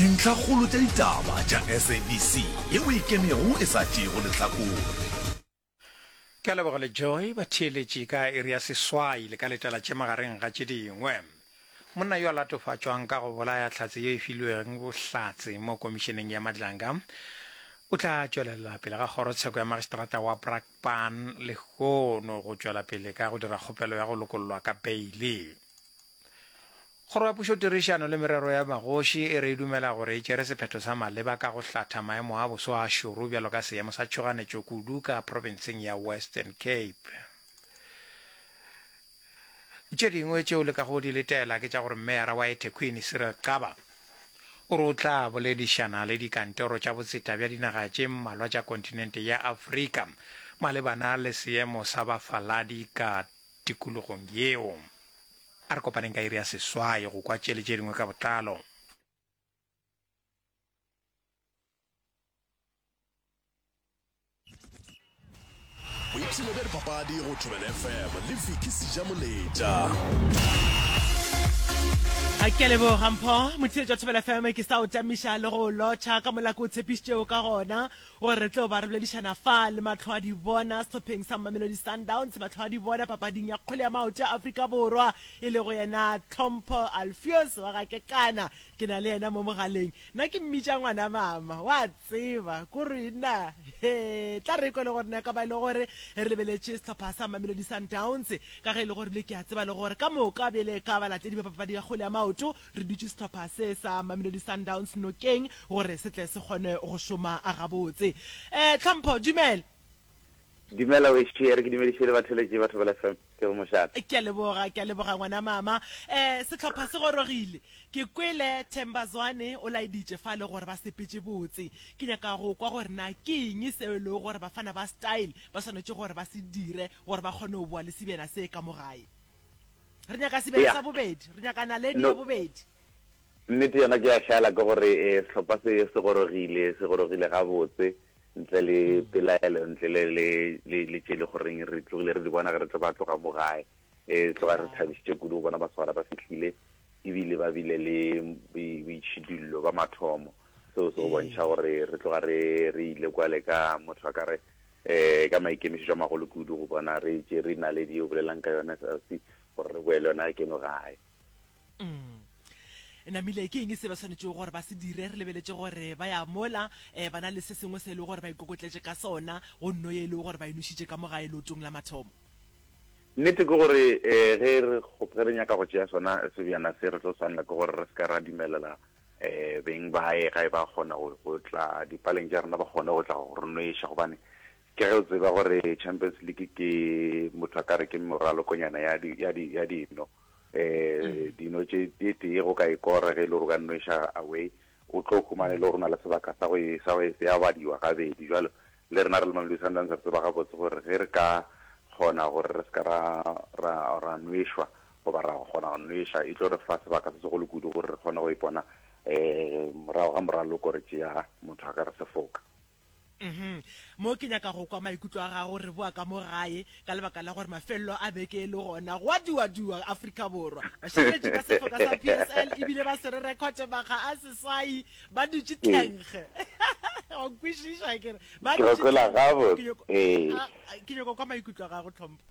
Dintlhakgolo tša ditaba tša SABC yeo e ikemego e sa tšeego lehlakore. Ke a leboga le Joy batheeletši ka iri ya seswai le ka letela tše magareng ga tše dingwe. Monna yo a latofatšwang ka go bolaya hlatse ye e filweng bohlatse mo komišeneng ya Madlanga o tla tšwelela pele ga kgorotsheko ya magistrata wa Brakpan lehono go tšwela pele ka go dira kgopelo ya go lokollwa ka beile. Kgoro ya Pušotirišano le Merero ya Magoši e re e dumela gore e tšere sephetho sa maleba ka go hlatha maemo a boso a šoro bjalo ka seemo sa tšhoganetšo kudu ka profenseng ya Western Cape. Tše dingwe tšeo le kago di letela ke tša gore Meyara wa eThekwini Cyril Xaba o re o tla boledišana le dikantoro tša botseta bja dinaga tše mmalwa tša kontinente ya Afrika malebana le seemo sa bafaladi ka tikologong yeo. A re kopaneng ka iri ya seswai go kwa tše le tše dingwe ka botlalo. Boipshino bja dipapadi go Thobela FM le Vicky Sejamoletša. A ke a leboga Mpho, motheetši wa Thobela FM, ke sa o tamiša le go o lotšha ka mola ke o tshepišitšego ka gona gore re tlo ba re boledišana fa le mahlo a di bona sehlopheng sa Mamelodi Sundowns, mahlo a di bona papading ya kgwele ya maoto ya Afrika Borwa, e lego yena Tlhompho Alfios wa ga Kekana. Ke na le yena mo mogaleng. Nna ke mmitša ngwana mama, wa tseba, kore nna, he, tla re kwe le gore na ka ba e le gore re lebeletše sehlopha sa Mamelodi Sundowns, ka ge e le gore bile ke a tseba le gore ka moka bjale ka balatedi ba papadi ya kgwele ya maoto re dutše sehlopha se sa Mamelodi Sundowns nokeng gore se tle se kgone go šoma gabotse. Eh, Tlhompho, dumela. Dumela wešo, e re ke dumediše le batheeletši ba Thobela FM. Ke go mošate. Ke a leboga, ke a leboga ngwana mama. Eh, sehlopha se gorogile. Ke kwele Themba Zwane o laeditše fale gore ba sepetše botse. Ke nyaka go kwa gore na ke eng seo e lego gore bafana ba Style ba swanetše gore ba se dire gore ba kgone go boa le sebjana se ka mo gae. Re nyaka sebjana sa bobedi, re nyaka naledi ya bobedi. Nnete yona ke ya šala ke gore sehlopha se se gorogile, se gorogile gabotse ntle le pelaelo, ntle le le le le tše le goreng re tlogile re di bona ge re tlo ba tloga mo gae. E tloga re thabišitše kudu go bona masogana ba fihlile ebile ba bile le boitšhidullo ba mathomo. Seo se go bontšha gore re tloga re re ile kwale ka motho a ka re um ka maikemišetšo a magolo kudu go bona re tšere naledi ye o bolelang ka yona SLC gore re boele yona keno gae. Mm. Namile, ke eng se ba swanetšego gore ba se dire? Re lebeletše gore ba ya mola um ba na le se sengwe se e lego gore ba ikokotletše ka sona go nno ye e lego gore ba e nošitše ka mo gae leotong la mathomo. Nnete ke gore um ge re ge re nyaka go tšea sona sebjana se re tlo swanela ke gore re se ka ra dumelela um beng bae ga e ba kgona go tla dipaleng tša rena ba kgone go tla go re nweša gobane ke ge o tseba gore Champions League ke motho a ka re ke moralokonyana ya di ya di ya dino um dino tše e tee go ka e kora ge e le gore o ka nweša away o tlo humana e le gore o na le sebaka sa go e sa go e ya badiwa gabedi jalo le rena re le Mamelodi Sundowns re tseba gabotse gore ge re ka kgona gore re se ka ra ra ra nwešwa goba ra kgona go nweša e tlo re fa sebaka se segolo kudu gore re kgone go ipona um morago ga moraloko re tšea motho a ka re sefoka. Mhm. Mo ke nyaka go kwa maikutlo a gago re boa ka mo gae ka lebaka la gore mafelelo a beke e le gona go a duadua Afrika Borwa. Bašireletši ba sefoka sa PSL ebile ba swere rekhote makga a seswai ba dutše tlhenkge. Wa nkwešiša ke re ba Ke go dutše kwela tlhenkge. gabotse. Ke nyoko Ee. a, a, ke nyoko kwa maikutlo a gago Tlhompho.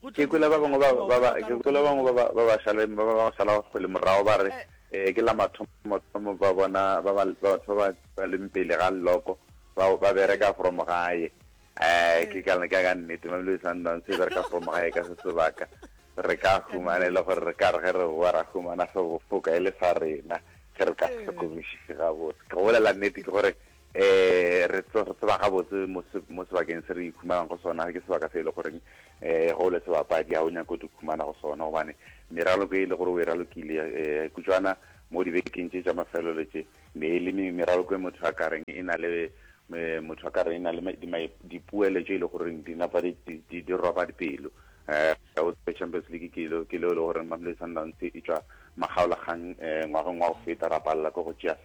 Go Ke tlo kwele ba direga bangwe ba goba ba o ba ka ke re o ka kwele ba bangwe ba direga. ba ba ba šale ba ba ba šala kgwele morago ba re Eh. eh ke la mathomo thomo ba bona ba ba batho ba ba leng pele ga leloko ba ba bereka from gae. Eh ke ka ka ka nnete Mamelodi Sundowns e bereka from gae ka se sebaka. Re ka Ka humana e le nnete. gore re ka re ge re boa ra humana sebofoka e le sa rena ge re ka se Eh. hlokomišiše gabotse. Ke go bolela nnete ke gore um re tseba gabotse mo mo sebakeng se re ikhumanang go sona ke sebaka se e le goreng um ge o le sebapadi ga o nyake go ikhumana go sona gobane meraloko e le gore o e ralokile um kutšwana mo dibekeng tše tša mafelelo tše me e le meraloko e motho a ka reng e na le motho a ka reng e na le dipoelo tše e le goreng di napa di roba dipelo um o tsebe Champions League ke le ke le e le goreng Mamelodi Sundowns e tšwa makgaolakgang um ngwageng wa go feta ra palela ke go tšea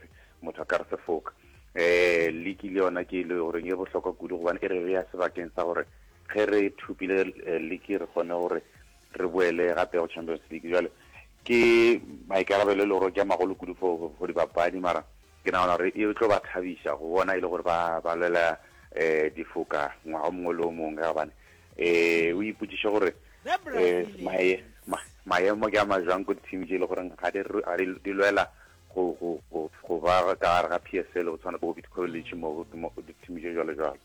motho a ka re sefoka. Um liki le yona ke e le goreng e bohlokwa kudu gobane e re bea sebakeng sa gore ge re thopile liki re kgone gore re boele gape go Champions League. Jwale ke maikarabelo e le gore ke a magolo kudu for for dibapadi mara. Ke nagana gore e tlo ba thabiša go bona e le gore ba ba lwela um difoka ngwaga o mongwe le o mongwe ka gobane um o ipotšiše gore um maemo ke a majwang ko di-team tše e le goreng ga di di lwela go go go go ba ka gare ga P_S_L go tshwana bo Bidco le mo di-team tše jwalo jwalo.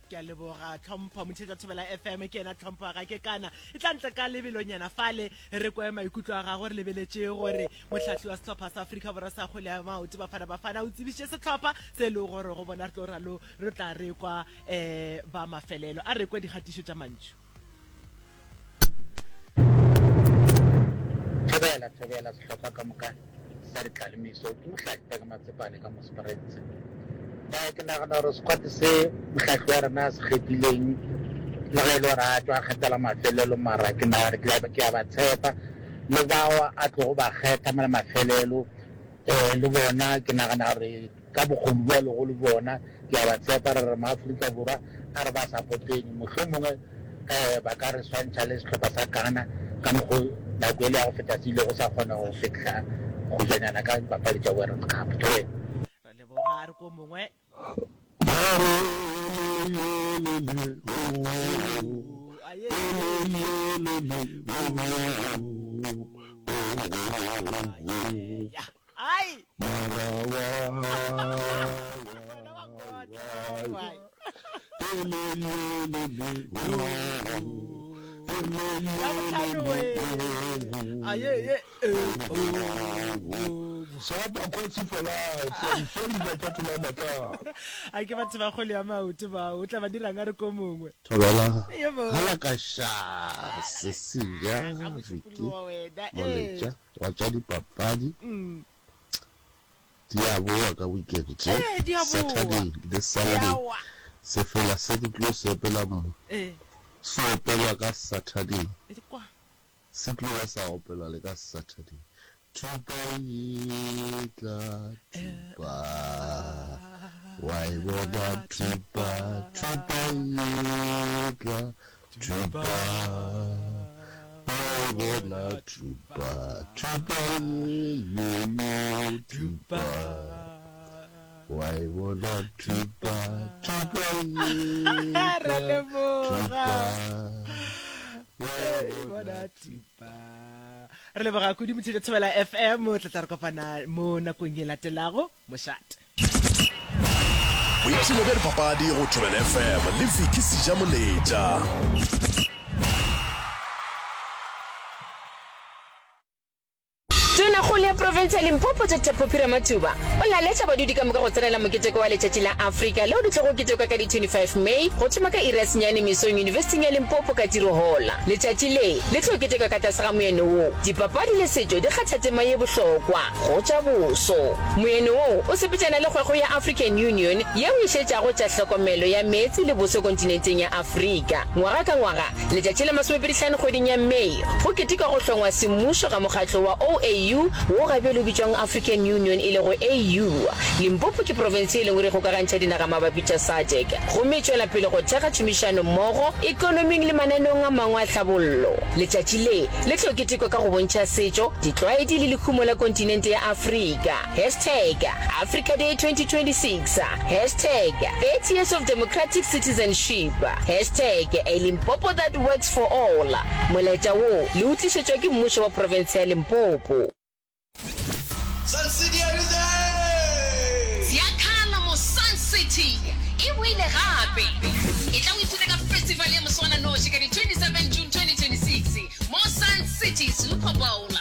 Ke a leboga Tlhompho, motheetša Thobela FM ke yena Tlhompho ga ke kana. E tla ntle ka lebelonyana fale re kwe maikutlo a gagwe re lebeletše gore mohlahli wa sehlopha sa Afrika Borwa sa kgwele ya maoto Bafana Bafana o tsebišitše sehlopha se e lego gore go bona re tlo ralo re tla re kwa um ba mafelelo. A re kwe dikgatišo tša mantšu. Thobela, thobela sehlopha ka moka sa Ditlalemiso. Ke Mohlahli Peke Matsepane ka mo Springs. Eh, ke nagana gore squad se mohlahli wa rena a se kgethileng le ge e le gore a tšwa a kgethela mafelelo mara ke nagana ke a ba tshepa le bao a tlogo ba kgetha mela mafelelo um le bona ke nagana gore Ka bokgoni bjo a lego le bjona, ke a ba tshepa. Re re Maafrika Borwa a re ba sapoteng. Mohlomongwe um ba ka re swantšha le sehlopha sa Ghana ka mokgo nako ele ya go feta se ilego sa kgona go fihla kgojanyana ka dipapadi tša World Cup. Thobela. Ra leboga, a re ko mongwe. Ai! A ke batho ba kgwele ya maoto bao o tla ba dirang a re ko mongwe. Thobela hala ka ša Cecilia Vicky Moletša wa tša dipapadi di a boa ka weekend tše Saturday le Sunday sefela se ke tlo se opela mo se opelwa ka Saturday se tlo ba sa opelwa le ka Saturday thupa e tla thupa wa e bona thupa thupa e tla Thupa, ba bona thupa, thupa ye yo yo thupa. Wa e bona thupa, thupa ye Ra leboga. thupa. Wa e bona thupa. Re leboga kudu Motšhitša Thobela FM, o tla tla re kopana mo nakong e latelago. Mošate. Boipshino bja dipapadi go Thobela FM le Vicky Sejamoletša. Tonakgolo ya profense ya Limpopo Doctor Phophi Ramathuba o laletša badudi ka moka go tsenela moketeko wa Letšatši la Afrika leo le tlogo ketekwa ka di 25 May go thoma ka iri ya senyane mesong Yunibesithing ya Limpopo ka Tirohola. Letšatši le le tlo ketekwa ka tlase ga moeno wo, Dipapadi le setšo di kgatha tema ye bohlokwa go tša boso. Moeno wo o sepetšana le kgwekgwe ya African Union yeo e šetšago tša hlokomelo ya meetse le boso kontinenteng ya Afrika. Ngwaga ka ngwaga, letšatši la masomepedihlano kgweding ya May, go ketekwa go hlongwa semmušo ga mokgatlo wa OAU wo ga bjale o bitšwang African Union e lego AU. Limpopo ke profense e lengwe re kgokagantšha dinaga mabapi tša SADC gomme e tšwela pele go thekga tšhomišano mmogo ekonoming le mananeong a mangwe a tlhabollo. Letšatši le le tlo ketekwa ka go bontšha setšo, ditlwaedi le lehumo la kontinente ya Afrika. Hashtag Africa Day 2026 Hashtag 30 years of democratic citizenship Hashtag A Limpopo that works for all Molaetša wo le o tlišetšwa ke mmušo wa profense ya Limpopo. Sun City are you there? Ziakhala mo Sun City e boile gape. Etla o ithute ka festival ya moswananoši ka di 27 June 2026 mo Sun City Super Bowl.